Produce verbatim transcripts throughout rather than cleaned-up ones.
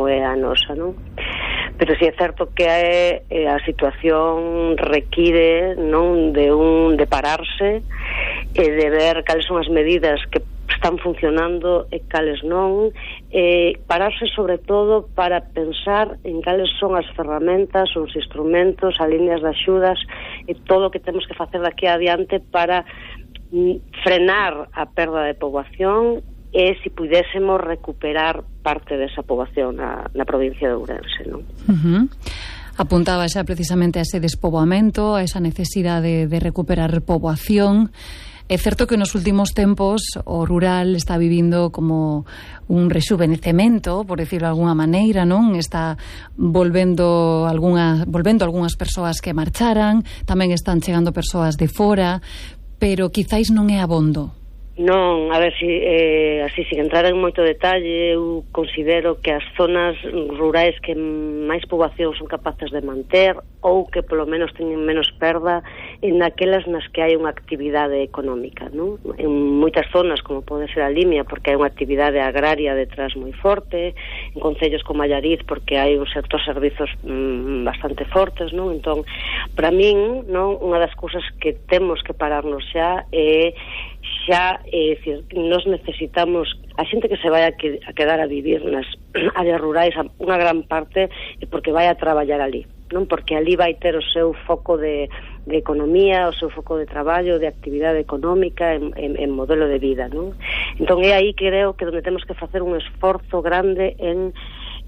como é a nosa, non? Pero si é certo que é, é, a situación require, non, de un de pararse e de ver cales son as medidas que están funcionando e cales non, eh, pararse sobre todo para pensar en cales son as ferramentas, os instrumentos, as líneas de axudas e todo o que temos que facer daqui adiante para mm, frenar a perda de poboación e se pudésemos recuperar parte desa poboación na, na provincia de Ourense, non? Uh-huh. Apuntaba xa precisamente a ese despoboamento, a esa necesidade de recuperar poboación. É certo que nos últimos tempos o rural está vivindo como un rexuvenecemento, por decirlo de alguna maneira, non? Está volvendo algunha, volvendo algunhas persoas que marcharan, tamén están chegando persoas de fora, pero quizáis non é abondo. Non, a ver, si, eh, así, sin entrar en moito detalle, eu considero que as zonas rurais que máis poboación son capaces de manter ou que polo menos teñen menos perda en aquelas nas que hai unha actividade económica, non? En moitas zonas, como pode ser a Limia, porque hai unha actividade agraria detrás moi forte, en concellos como Allariz, porque hai un sector servizos mm, bastante fortes, non? Entón, para min, non, unha das cousas que temos que pararnos xa é xa, é dicir, nos necesitamos a xente que se vai a, que, a quedar a vivir nas áreas rurais, unha gran parte é porque vai a traballar ali, non? Porque ali vai ter o seu foco de, de economía, o seu foco de traballo, de actividade económica, en, en, en modelo de vida, non? Entón é aí que creo que onde temos que facer un esforzo grande en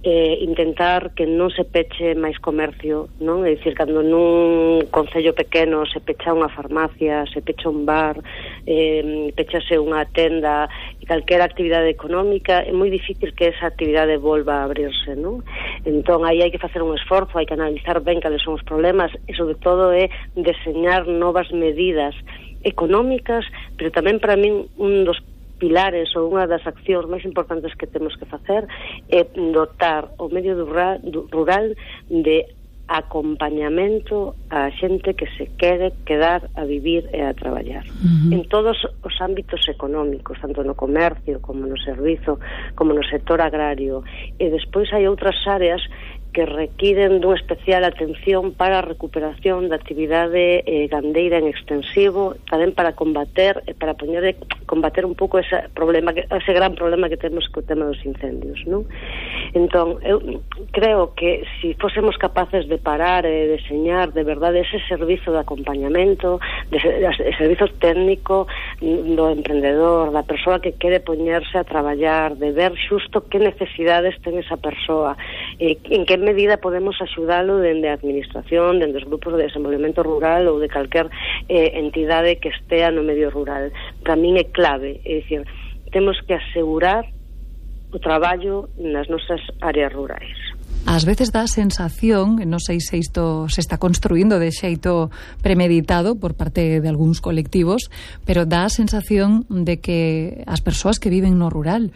eh, intentar que non se peche máis comercio, non? É dicir, cando nun concello pequeno se pecha unha farmacia, se pecha un bar, eh, pechase unha tenda e calquera actividade económica, é moi difícil que esa actividade volva a abrirse, non? Entón, aí hai que facer un esforzo, hai que analizar ben cales son os problemas e, sobre todo, é deseñar novas medidas económicas, pero tamén para min un dos pilares ou unha das accións máis importantes que temos que facer é dotar o medio rural, rural de acompañamento a xente que se quere quedar a vivir e a traballar. Uh-huh. En todos os ámbitos económicos, tanto no comercio como no servizo, como no sector agrario. E despois hai outras áreas que requiren dunha especial atención para a recuperación da actividade eh, gandeira en extensivo, tamén para combater e para poñer combater un pouco ese problema, ese gran problema que temos co tema dos incendios, non? Entón, eu creo que se si fósemos capaces de parar e deseñar de verdade ese servizo de acompañamento, de, de, de servizo técnico do emprendedor, da persoa que quere poñerse a traballar, de ver xusto que necesidades ten esa persoa, eh, en que medida podemos axudalo dende a administración, dende os grupos de desenvolvemento rural ou de calquer eh, entidade que estea no medio rural. Para min é clave, é dicir, temos que asegurar o traballo nas nosas áreas rurais. Ás veces dá a sensación, non sei se isto se está construindo de xeito premeditado por parte de algúns colectivos, pero dá a sensación de que as persoas que viven no rural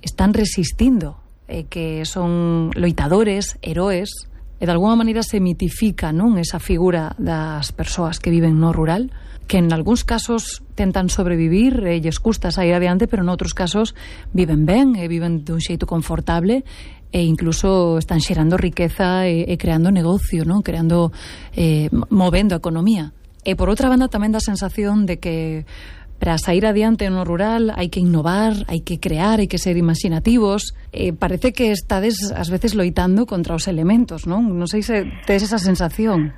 están resistindo, e que son loitadores, heroes, e de alguma maneira se mitifica, non, esa figura das persoas que viven no rural, que en algúns casos tentan sobrevivir e lles custa sair adiante, pero en outros casos viven ben e viven dun xeito confortable e incluso están xerando riqueza e, e creando negocio, non, creando eh, movendo a economía. E por outra banda tamén dá a sensación de que para sair adiante no rural hai que innovar, hai que crear, hai que ser imaginativos. Eh, parece que estades ás veces loitando contra os elementos, non? Non sei se tes esa sensación.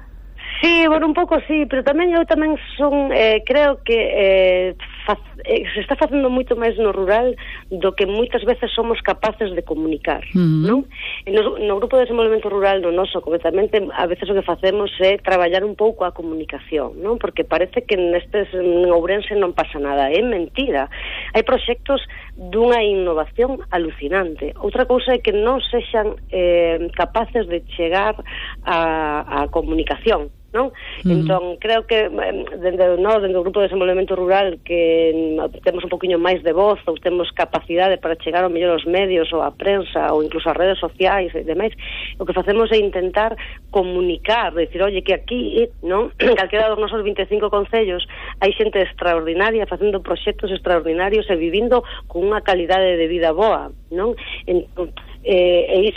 Sí, bueno, un pouco sí, pero tamén eu tamén son, eh, creo que eh, faz, eh, se está facendo moito máis no rural do que moitas veces somos capaces de comunicar, uh-huh. non? No, no grupo de desenvolvemento rural, no noso, concretamente, a veces o que facemos é traballar un pouco a comunicación, non? Porque parece que nestes en Ourense non pasa nada, é mentira. Hai proxectos dunha innovación alucinante. Outra cousa é que non sexan eh, capaces de chegar a, a comunicación, non? Uh-huh. Entón, creo que dende, no, dende o grupo de desenvolvemento rural que temos un poquinho máis de voz ou temos capacidade para chegar ao mellor aos medios ou á prensa ou incluso ás redes sociais e demais, o que facemos é intentar comunicar, decir, oye, que aquí, non? Calquera dos nosos vinte e cinco concellos hai xente extraordinaria facendo proxectos extraordinarios e vivindo con unha calidade de vida boa, non? Entón, eh, e iso